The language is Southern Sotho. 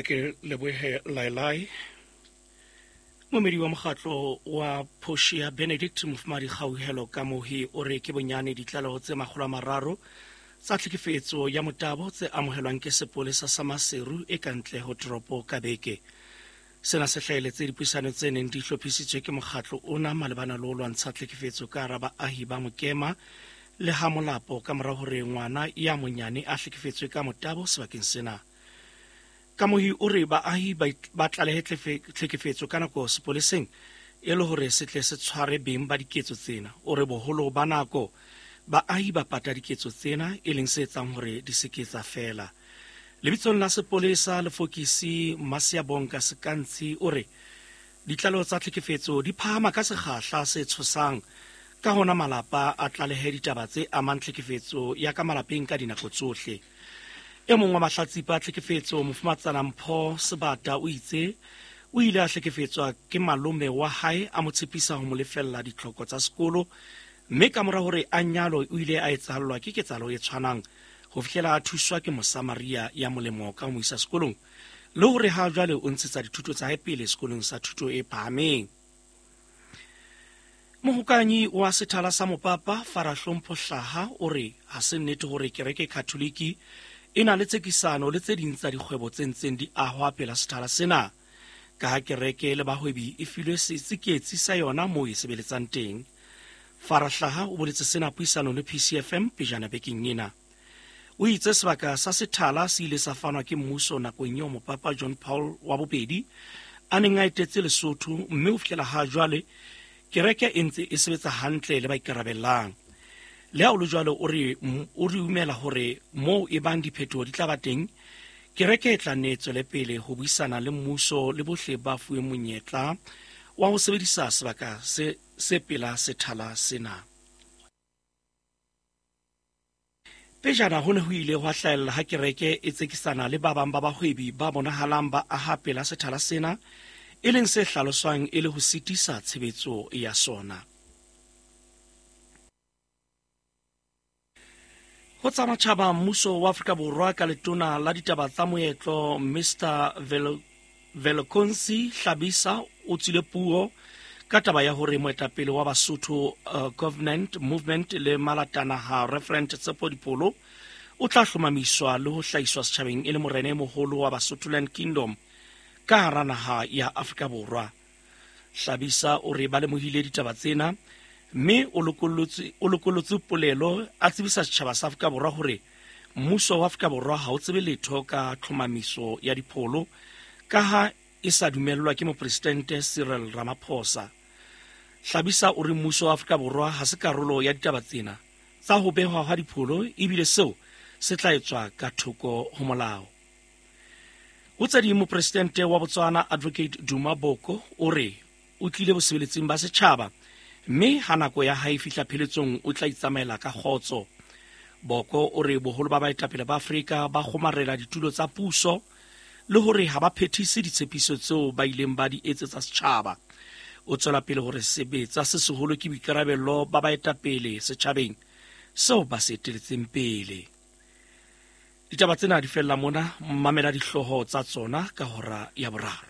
A ke lebohe Lailai. Momedi wa mokgatlo wa Portia Benedict Mofumadi Kgauhelo Kamohi o re ke bonyane ditlaleho tse 300 tsa tlhekefetso ya motabo tse amohelwang ke sepolesa sa Maseru e ka ntle ho toropo ka beke. Sena se hlaheletse dipuisano tse neng di hlophisitswe ke mokgatlo ona malebana le ho lwantsha tlhekefetso ka hara baahi ba Mokema le ha Molapo ka mora hore ngwana ya monyane a hlekefetswe ka motabo sebakeng sena. Kamohi o re baahi ba tlalehe tlhekefetso ka nako sepoleseng e le hore se tle se tshware beng ba diketso tsena. O re boholo ba nako baahi ba pata diketso tsena e leng se etsang hore di se ke tsa fela. Lebitsong la sepolesa Lefokisi Masiabonga Sekantshi o re ditlaleho tsa tlhekefetso di phahama ka sekgahla se tshosang, ka hona malapa a tlalehe ditaba tse amang tlhekefetso ya ka malapeng ka dinako tsohle. E mong wa mahlatsipa a tlhekefetso Mofumatsana Mpho Sebata o itse o ile a hlekefetswa ke malome wa hae a mo tshepisa ho mo lefella ditlhoko tsa sekolo, mme kamora hore a nyalwe o ile a etsahallwa ke ketsahalo e tshwanang ho fihlela a thuswa ke Mosamaria ya molemo ka ho mo isa sekolong le hore ha jwale o ntshetsa dithuto tsa hae pele sekolong sa thuto e phahameng. Mohokanyi wa sethala sa mopapa Fara Hlompho Hlaha o re ha se nnete hore kereke Katholiki e na le tsekisano le tse ding tsa dikgwebo tse ntseng di ahwa pela sethala sena, ka ha kereke le bahwebi e filwe setsiketsi sa yona moo e sebeletsang teng. Fara Hlaha o boletse sena puisanong le PCFM pejana bekeng ena. O itse sebaka sa sethala se ile sa fanwa ke mmuso nakong eo mopapa John Paul wa bobedi a neng a etetse Lesotho, mme ho fihlela ha jwale kereke e ntse e sebetsa hantle le ba ikarabellang. Le ha o le jwalo, o re o re umela hore moo e bang diphetoho di tla ba teng, kereke e tla nne e tswele pele ho buisana le mmuso le bohle ba fuweng monyetla wa ho sebedisa sebaka se se pela sethala sena. Pejana ho ne ho ile hwa hlahella ha kereke e tsekisana le ba bang ba bahwebi ba bonahalang ba aha pela sethala sena, e leng se hlaloswang e le ho sitisa tshebetso ya sona. Ho tsa matjhaba, mmuso wa Afrika Borwa ka letona la ditaba tsa moetlo Mr Velekonsi Hlabisa o tswile puo ka taba ya hore moetapele wa Basotho Covenant Movement le malatanaha Reverend Tsepo Dipholo o tla hlomamiswa le ho hlahiswa setjhabeng e le morena e moholo wa Basotholand Kingdom ka hara naha ya Afrika Borwa. Hlabisa o re ba lemohile ditaba tsena mme o lokollotse polelo a tsebisa setjhaba sa Afrika Borwa hore mmuso wa Afrika Borwa ha o tsebe letho ka tlhomamiso ya dipholo ka ha e sa dumellwa ke mopresidente Cyril Ramaphosa. Hlabisa o re mmuso wa Afrika Borwa ha se karolo ya ditaba tsena tsa ho behwa hwa dipholo ebile seo se tla etswa ka thoko ho molao. Ho tse ding, mopresidente wa Botswana Advocate Duma Boko o re o tlile bosebeletsing ba setjhaba mme ha nako ya hae e fihla pheletsong o tla itsamaela ka kgotso. Boko o re boholo ba baetapele ba Afrika ba kgomarela ditulo tsa puso le hore ha ba phethise ditshepiso tseo ba ileng ba di etsetsa setjhaba. O tswela pele hore sebetsa se seholo ke boikarabello ba baetapele setjhabeng seo ba se eteletseng pele. Ditaba tsena di fella mona, mamela dihlooho tsa tsona ka hora ya boraro.